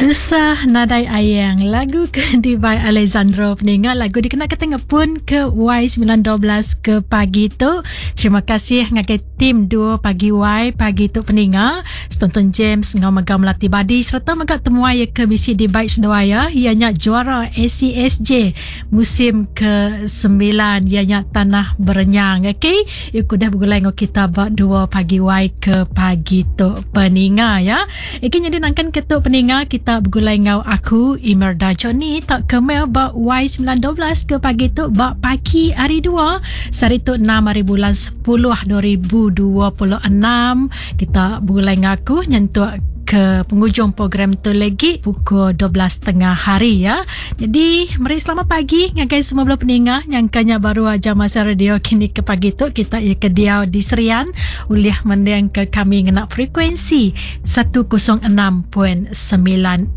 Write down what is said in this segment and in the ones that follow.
Tusah Nadai Ayang lagu ke dibai Alexandro peninga lagu dikena ke tengepun ke Y912 ke pagi tu. Terima kasih ngagai tim 2 pagi Y pagi tu peninga. Setonton James ngau mega Melati Badi sereta mega temuai ke bisi dibai seduai ya iya nya juara ACSJ musim ke 9 iya nya Tanah Berenyang. Okey, iya udah begulai ngau kita ba 2 pagi Y ke pagi tu peninga ya. Iki nyadi nangkan ke tu peninga kita begulai enggau aku Imerda Johnny tak ke mail ba Y912 ke pagi tu ba pagi hari 2 sehari tu 6 hari bulan 10 2026 kita begulai enggau aku nyentuk ke penghujung program tu lagi pukul 12.30 hari ya. Jadi meri selamat pagi ngagai semua bala peninga nyangkanya baru aja masa radio kini ke pagi tu kita ia ke diau di Serian ulih mending ke kami ngena frekuensi 106.9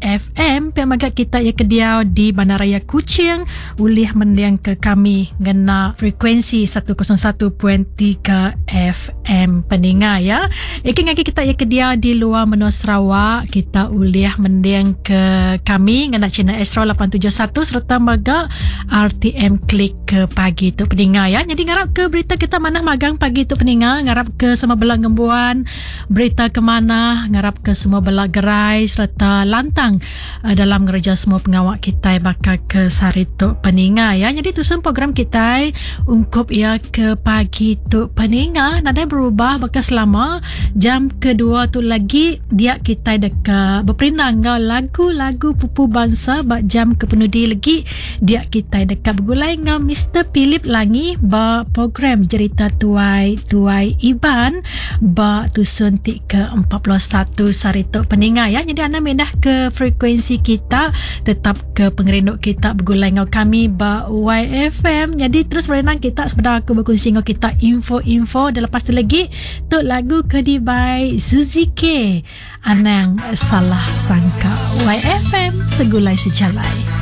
FM pia mega kita ia ke diau di Bandaraya Kuching ulih mending ke kami ngena frekuensi 101.3 FM peninga ya. Iki ngagi kita ia ke diau di luar menua Sarawak kita ulih mending ke kami ngena channel Astro 871 sereta mega RTM Click ke pagi tu peninga ya. Jadi ngarap ke berita kita manah magang pagi tu peninga, ngarap ke semua bela ngembuan berita ke manah, ngarap ke semua bela gerai sereta lantang uh, dalam ngereja semua pengawa kitai baka ke sehari tu peninga ya. Jadi tusun program kitai ungkup ya ke pagi tu peninga nadai berubah baka selama jam kedua tu lagi dia kitai deka beperindang enggau lagu-lagu pupu bansa ba jam ke penudi lagi Dia kitai deka begulai enggau Mister Philip Langi ba program Jerita Tuai Tuai Iban ba tusun ti ke 41 sehari tu peninga ya. Jadi anda mindah ke frekuensi kita tetap ke pengerindu kita begulai enggau kami ba YFM. Jadi terus berenang kita sebedau aku berkongsi enggau kita info-info dan lepas tu lagi tu lagu ke dibai Suzy K. Anang salah sangka. YFM segulai sejalai.